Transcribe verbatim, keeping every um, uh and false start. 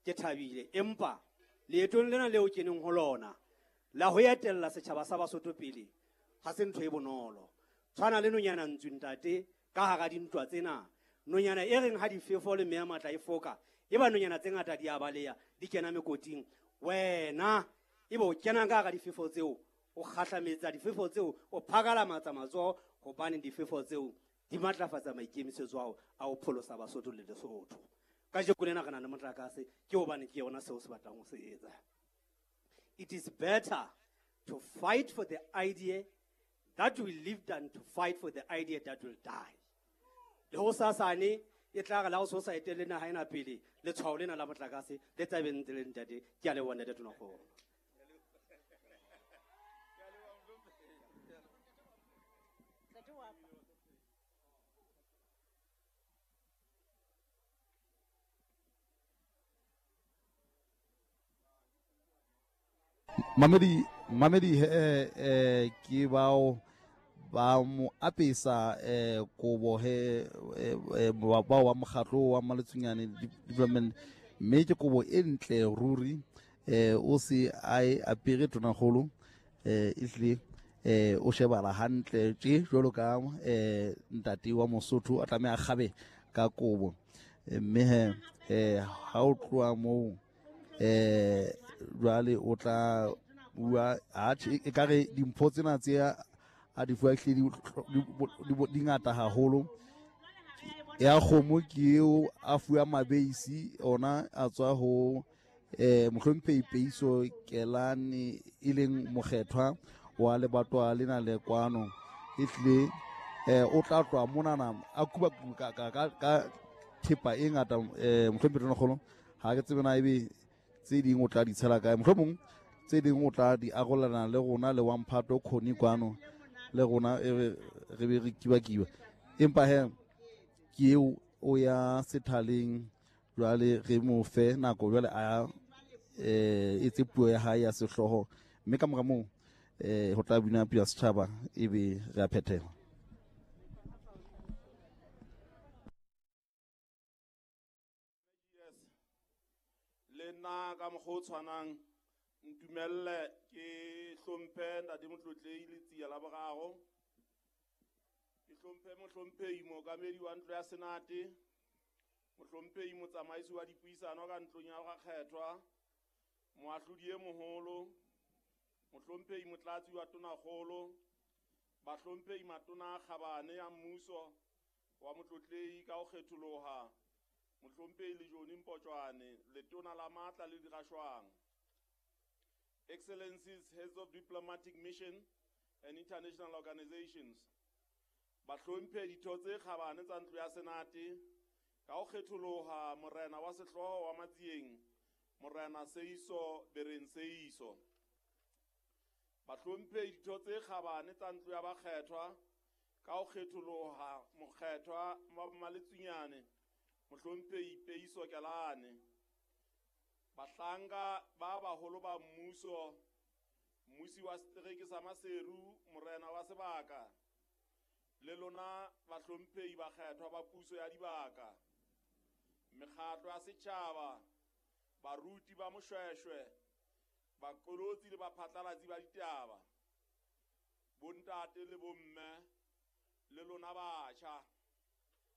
Ke thabile empa leetong lena leo keneng ho lona la ho etella setjhaba sa Basotho pele ha se ntho e bonolo. Tshwana le nonyana ntsu ntate ka hara dintwa tsena. Nonyana e reng ha difefo le meya matla e foka, e ba nonyana tse ngata di a baleha, di kena mekoting. Wena e bo kena ka hara difefo tseo, o kgahlametsa difefo tseo, o phakalamatsa matsoho hobane difefo tseo di matlafatsa maikemisetso ao a ho pholosa Basotho le Lesotho. Kajeko lena re na le motlakase ke hobane ke yona seo se batlang ho se etsa. It is better to fight for the idea that will live than to fight for the idea that will die. Le ho sasane e tla re la ho so sa etelle naha ena pele letshwao lena la motlakase le tla be ntse le ntate. Ke a leboha ntate Tonakgolo. Mamedi Mamedi eh eh ke bao ba mo apesa eh kobo he eh bao wa mokgatlo wa Maletsunyane Development, mme ke kobo e ntle ruri eh o se a e apere Tonakgolo eh ehlile eh o shebala hantle tje jwalo ka eh ntate wa Mosotho a tlameha kgabe ka kobo, mme he eh ha o tloha moo eh jwale o tla bua atjhe e ka re dimpho tsena tse a di fuwa ehlile di ngata haholo. Ya kgomo ke eo a fuwa mabeisi ona a tswa ho eh mohlomphehi Peiso Kelane e leng mokgethwa wa lebatwa lena le kwano. Ehlile eh o tla tloha monana a kuba ka ka ka thepa e ngata eh mohlomphehi Tonakgolo ha ke tsebe na ebe tse ding o tla di tshela kae, mohlomong tse ding o tla di arolana le rona le wa mphato khoni kwano le rona e re be re kiba-kiba. Empa he ke eo o ya sethaleng jwale re mo fe nako jwale a eh etse puo ya hae ya sehlooho, mme ka mora moo eh ho tla bina puo ya setjhaba ebe re a phethela. Le nna ka mokgwa o tshwanang ntumelle ke hlomphe ntate Motlotlehi Letsia la boraro, ke hlomphe mohlomphehi mookamedi wa ntlo ya Senate, mohlomphehi motsamaisi wa dipuisano ka ntlong ya Rakgethwa, moahlodi e moholo, mohlomphehi motlatsi wa Tonakgolo, bahlomphehi matona a kgabane ya mmuso wa Motlotlehi ka ho kgetholoha, mohlomphehi Lejone Mpotjwane, letona la matla le dirashwang, Excellencies, heads of diplomatic mission and international organizations, bahlomphehi ditho tse kgabane tsa ntlo ya Senate, ka ho kgetholoha morena wa sehlooho wa Matsieng, morena Seiso Bereng Seiso, bahlomphehi ditho tse kgabane tsa ntlo ya bakgethwa, ka ho kgetholoha mokgethwa wa Maletsunyane, mohlomphehi Peiso Kelane, bahlanka ba baholo ba mmuso, mmusi wa setereke sa Maseru, morena wa sebaka, le lona bahlomphehi bakgethwa ba puso ya dibaka, mekgatlo ya setjhaba, baruti ba moshweshwe, baqolotsi le baphatlalatsi ba ditaba, bontate le bomme, le lona batjha.